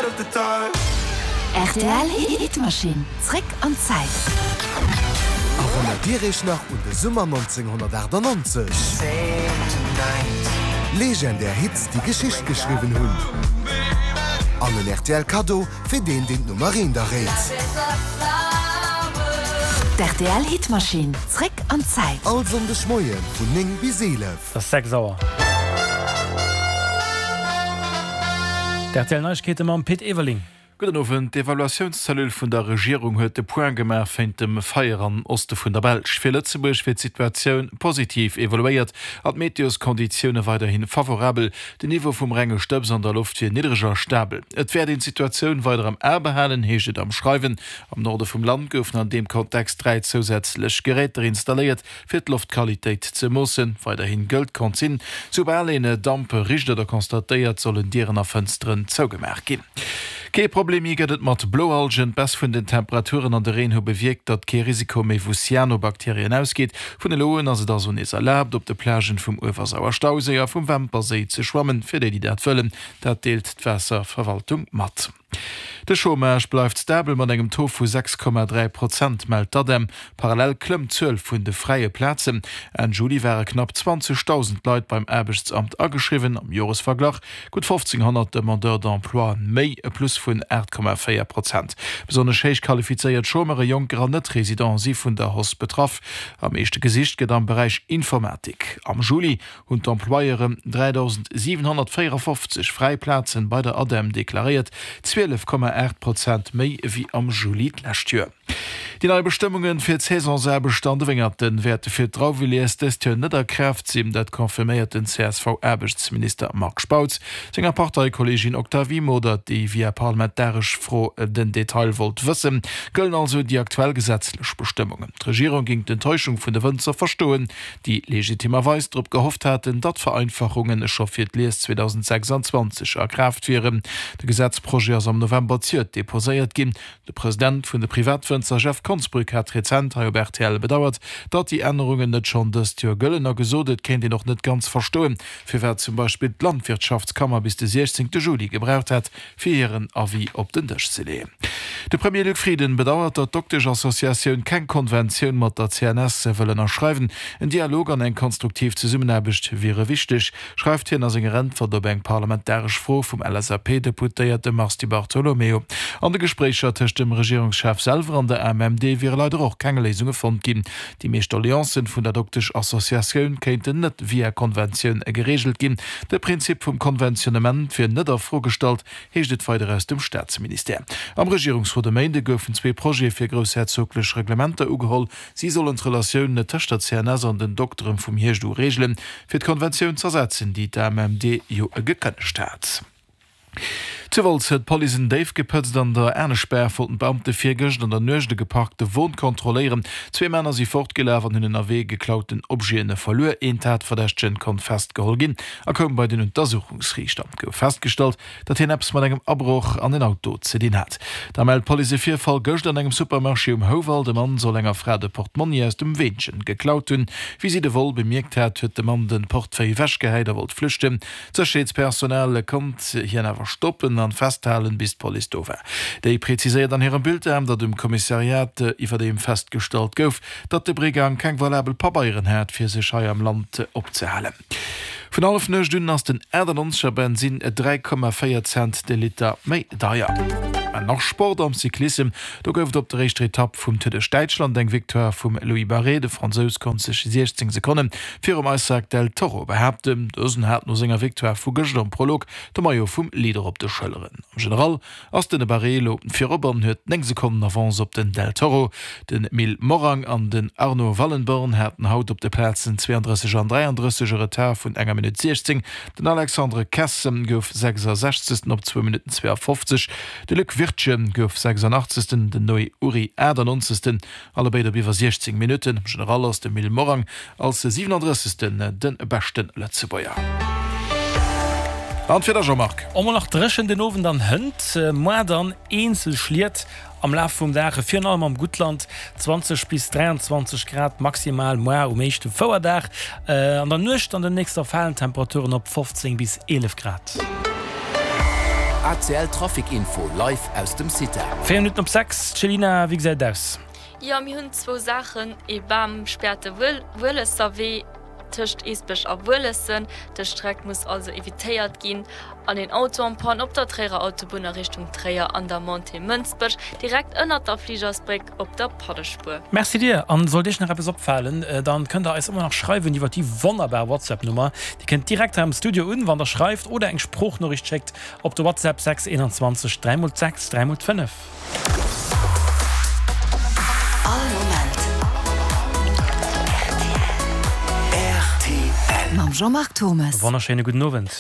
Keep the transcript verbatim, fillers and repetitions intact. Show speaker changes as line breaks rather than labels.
Rtl Hitmaschinn, zréck an d'Zäit.
Erënnert Dir Iech nach un de Summer nonzénghonnertachtannonzeg? Legendär Hits, déi Geschicht geschriwwen hunn. An en rtl Kaddo fir deen, deen d'Nummer eent erréit.
D'RTL Hitmaschinn, zréck an d'Zäit.
All Sonndeg Moie vun néng bis eelef.
Et ass sechs Auer. D'RTL Neiegkeete mam Pit Everling.
Gudden Owend. D'Evaluatiounscellule vun der Regierung huet de Point gemaach wéint dem Feier am Oste vun der Belsch. Fir Lëtzebuerg wier d'Situatioun positiv evaluéiert an d'Meteoskonditioune weiderhi favorabel. Den Niveau vum renge Stëbs an der Loft wier niddereg a stabel. Et wäert een d'Situatioun weider am A behalen, heescht et am Schreiwen. Am Norde vum Land goufen an deem Kontext dräi zousätzlech Geräter installéiert, fir d'Loftqualitéit ze moossen. Weiderhi gëllt d'Consigne, Soubal een Damp richt oder constatéiert, sollen Dieren a Fënsteren zougemaach ginn. Kee Problem méi gëtt et mat Bloalgen. D'Baisse vun den Temperaturen an de Reen hu bewierkt, datt kee Risiko méi vu Cyanobakterien ausgeet. Vun elo un ass et also nees erlaabt, op de Plagen vum Uewersauer-Stauséi a vum Wämperséi ze schwammen, fir déi, déi dat wëllen. Dat deelt d'Waasserverwaltung mat. De Chômage bleift stabel mat engem Taux vu sechs Komma dräi Prozent, mellt d'ADEM. Parallel klëmmt d'Zuel vun de fräie Plazen. Enn Juli ware knapp zwanzegdausend Leit beim Aarbechtsamt ageschriwwen, am Joresverglach gutt fofzénghonnert Demandeurs d'emploi méi, e Plus vun aacht Komma véier Prozent. Besonnesch héich qualifizéiert Chômeure, Jonker an Net-Residenten si vun der Hausse betraff. Am meeschte gesicht gëtt am Beräich Informatik. Am Juli hunn d'Employeuren dräidausendsiwenhonnertvéierafofzeg fräi Plazen bei der ADEM deklaréiert, zwielef Komma aacht Prozent méi ewéi am Juli d'lescht Joer. Déi nei Bestëmmunge fir d'Saisonsaarbechter an de Wéngerte wäerte fir d'Drauwelies dëst Joer net a Kraaft sinn. Dat confirméiert den C S V-Aarbechtsminister Marc Spautz senger Parteikolleegin Octavie Modert, déi via parlamentaresch Fro den Detail wollt wëssen. Gëllen also déi aktuell gesetzlech Bestëmmungen. D'Regierung géing d'Enttäuschung vun de Wënzer verstoen, déi legitimerweis drop gehofft haten, datt d'Vereinfachunge scho fir d'Lies zweedausendsechsanzwanzeg a Kraaft wieren. De Gesetzprojet ass am November zejoert deposéiert ginn. De President vun de Privatwënzer Jeff Konsbrück hat rezent hei op R T L bedauert, datt déi Ännerungen net schonn dëst Joer gëllen a gesot, et kéint een och net ganz verstoen, firwat zum Beispill d'Landwirtschaftskammer bis de siechzéngte Juli gebraucht hätt, fir hiren Avis op den Dësch ze leeën. De Premier Luc Frieden bedauert, datt d'Doktesch-Associatioun keng Konventioun mat der C N S wëll ënnerschreiwen. En Dialog an eng konstruktiv Zesummenaarbecht wiere wichteg, schreift hien a senger Äntwert op eng parlamentaresch Fro vum L S A P-Deputéierte Mars Di Bartolomeo. An de Gespréicher tëscht dem Regierungschef selwer an der A M M D wiere leider och keng Léisunge fonnt ginn. Déi meescht Doleancen vun der Doktesch-Associatioun kéinten net via Konventioun gereegelt ginn. De Prinzip vum Konventionnement wier net a Fro gestallt, heescht et weider aus dem Staatsministère. Am Regierungsrot e Méinde goufen zwee Projete fir groussherzoglech Reglementer ugeholl. Si sollen d'Relatioun tëscht der C N S an den Dokteren vum Hierscht u reegelen, fir d'Konventioun z'ersetzen, déi d'A M M D jo gekënnegt hat. Zu Wolz huet d'Police en Déif gepëtzt. An der Aneschbaach wollten d'Beamte virgëscht an der Nuecht e geparkte Won kontrolléieren. Zwee Männer si fortgelaf an hunn ënnerwee geklauten Objete verluer. Een Tatverdächtegen konnt festgeholl ginn a koum bei den Untersuchungsriichter. Et gouf festgestallt, datt hien eppes mat engem Abroch an en Auto ze dinn hat. Da mellt d'Police e Virfall gëscht an engem Supermarché um Houwald. E Mann soll enger Fra de Portmonni aus dem Weenchen geklaut hunn. Wéi si de Vol bemierkt hat, huet de Mann de Portefeuille ewechgehäit a wollt flüchten. D'Sécherheetspersonal konnt hien awer stoppen an festhalen, bis d'Police do war. Déi präziséiert an hirem Bulletin, datt um Kommissariat iwwerdeem festgestallt gouf, datt de Brigang keng valabel Pabeieren hat, fir sech hei am Land opzehalen. Vun Hallefnuecht un ass den achtannonzeger Bensinn dräi Komma véier Cent de Liter méi deier. An nach Sport am Cyclissem, Do gouf et op der éischter Etapp vum Tour duerch Däitschland eng Victoire vum Louis Barré. De Fransous konnt sech siechzéng Sekonne virum Isaac del Toro behaapten. Dësen hat no senger Victoire vu gëschter am Prolog de Maillot vum Leader op de Schëlleren. Am General ass den Barré elo virop an huet néng Sekonnen Avance op den Del Toro. Den Mil Morang an den Arno Wallenborn haten haut op de Plazen zwéiandrësseg an dräiandrësseg e Retard vun enger Minutt siechzéng. Den Alexandre Kessem gouf sechsasechzegsten op zwou Minutten zweeafofzeg. De Luc Wirtgen gouf sechsandachtzegsten, den Noé Uri achtannonzegsten, allebéid op iwwer siechzéng Minutten. Am General ass de Mil Morang als siwenandrëssegsten de beschte Lëtzebuerger. An d'Wieder, Jean-Marc?
Emol nach dréchen den Owend an hënt, moar dann eenzel Schliet am Laf vum Dag, virun allem am Guttland, zwanzeg bis dräianzwanzeg Grad maximal moar um éischte Fouerdag. An der Nuecht an den nächster falen d'Temperaturen op fofzéng bis eelef Grad.
A C L Trafic Info live aus dem CITA.
Véier Minutten op sechs, Céline, wéi gesäit et aus?
Jo, mir hunn zwou Saachen, Ee Bam späert de Wuelesser Wee tëscht Eesbech a Wuelessen, dës Streck muss also evitéiert ginn. An een Auto en panne op der Tréierer Autobunn a Richtung Tréier an der Montée Mënsbech, direkt ënnert der Fligersbréck op der Pannespuer.
Merci dir! An sollt iech nach eppes opfalen, dann kënnt der eis ëmmer nach schreiwen iwwer déi wonnerbar WhatsApp Nummer. Déi kënnt direkt hei am Studio un, wann der schreift oder eng Sproochnoriicht schéckt op de WhatsApp sechs einundzwanzeg dräi mol sechs dräi mol fënnef.
All Moment
R T L.
Mam Jean-Marc Thomes.
Wonnerschéine gudden Owend.